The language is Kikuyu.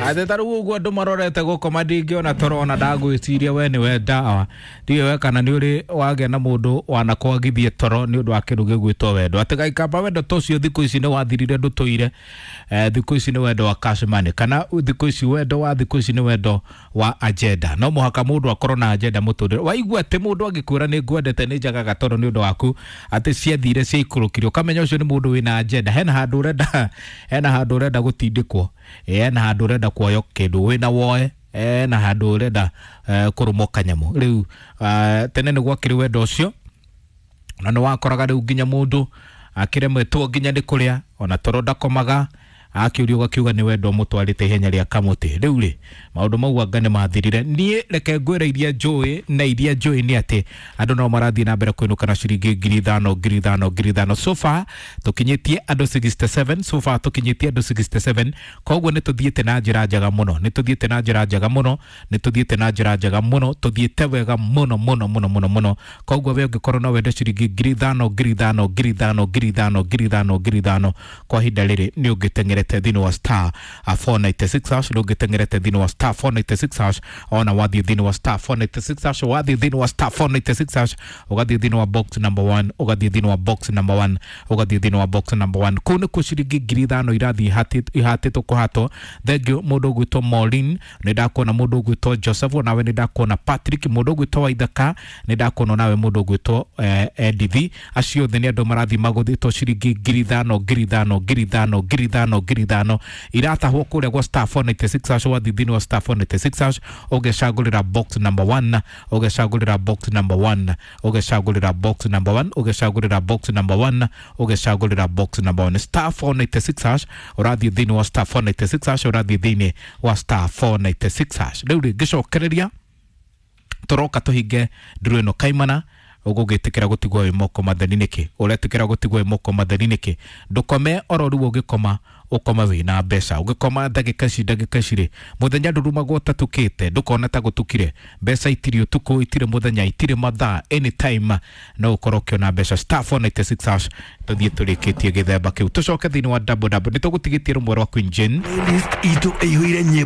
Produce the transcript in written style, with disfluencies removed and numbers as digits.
Atĩ ta rĩu ũguo andũ marorete gũkoma, ndingĩona toro ona ndagwĩciria we nĩwe ndawa. Ndiũĩ we kana nĩ ũrĩ wagĩa na mũndũ wanakwagithie toro nĩ ũndũ wa kĩndũ gĩgwĩtwo wendo. Atĩ gaikamba wendo ta ũcio thikũ ici nĩ wathirire, ndũtũire. Thikũ ici nĩ wendo wa cash money, kana thikũ ici wendo wa thikũ ici nĩ wendo wa agenda. No mũhaka mũndũ akorwo na agenda mũtũrĩre. Waigua atĩ mũndũ angĩkwĩra nĩ ngwendete, nĩ njagaga toro nĩ ũndũ waku, atĩ ciathire ciaikũrũkire, ũkamenya ũcio nĩ mũndũ wĩna agenda. Hena handũ ũrenda, hena handũ ũrenda gũtindĩkwo, hena handũ ũrenda kuoywo kĩndũ wĩna woe, na handũ ũrenda kũrũmwo kanyamũ. Rĩu tene nĩ gwakĩrĩ wendo ũcio, na nĩ wakoraga rĩu nginya mũndũ akĩremetwo nginya nĩ kũrĩa, ona toro ndakomaga, akĩũrio ũgakiuga nĩ wendo mũtwarĩte ihenya rĩa kamũtĩ. Rĩu rĩ, maũndũ mau anga nĩ mathirire. Niĩ reke ngwĩre iria njũĩ, na iria njũĩ nĩ atĩ andũ no marathiĩ na mbere kũinũka na ciringi 5,000, 5,000, 5,000. So far tũkinyĩtie andũ 67, so far tũkinyĩtie andũ 67. Koguo nĩ tũthiĩte na njĩra njega mũno, nĩ tũthiĩte na njĩra njega mũno, nĩ tũthiĩte na njĩra njega mũno, tũthiĩte wega mũno mũno mũno mũno mũno. Koguo we ũngĩkorwo no wende ciringi 5,000, 5,000, 5,000, 5,000, 5,000, 5,000 kwa ihinda rĩrĩ, nĩ ũngĩteng'erete thĩinĩ wa star 496 hash, nĩ ũngĩteng'erete thĩinĩ wa star 496 hash. Ona wathiĩ thĩinĩ wa star 496 hash, wathiĩ thĩinĩ wa star 496 hash, ũgathiĩ thĩinĩ wa box number 1, ũgathiĩ thĩinĩ wa box number 1, ũgathiĩ thĩinĩ wa box number 1, kũu nĩkuo ciringi 5,000 irathiĩ ihatĩtwo kũhatwo. Thengiũ mũndũ ũgwĩtwo Maureen, nĩ ndakuona. Mũndũ ũgwĩtwo Joseph, nawe nĩ ndakuona. Patrick, mũndũ ũgwĩtwo Waithaka, nĩ ndakuona. Nawe mũndũ ũgwĩtwo Edith, acio othe nĩ andũ marathiĩ magũthĩtwo ciringi 5,000, 5,000, 5,000, 5,000, 5,000 iratahwo kũrĩa gwa star 496 hash. Wathiĩ thĩinĩ wa star 496 hash, ũgecagũrĩra box number 1, ũgecagũrĩra box number 1, ũgecagũrĩra box number 1, ũgecagũrĩra box number 1, ũgecagũrĩra box number 1, star 496 hash. Ũrathiĩ thĩinĩ wa star 496 hash, ũrathiĩ thĩinĩ wa star 496 hash. Rĩu rĩ, ngĩcokereria tũroka tũhinge nduru ĩno kaimana. Ũgũgĩtĩkĩra gũtigwo wĩ moko matheri nĩkĩ? Ũretĩkĩra gũtigwo wĩ moko matheri nĩkĩ? Ndũkome oro rĩu, ũgĩkoma ũkoma wĩna mbeca. Ũgĩkoma ndagĩka ici, ndagĩka ici rĩ, mũthenya ndũrumagwo ũtatukĩte, ndũkona ta gũtukire. Mbeca itirĩ ũtukũ, itirĩ mũthenya, itirĩ mathaa, anytime no ũkorwo ũkĩona mbeca. Star 496 hash. Tũthiĩ tũrĩkĩtie gĩthemba kĩu, tũcoke thĩinĩ wa double double. Nĩ tũgũtigĩtie rũmwe rwa Queen Jane. Playlist itũ ĩihũire nyĩmbo.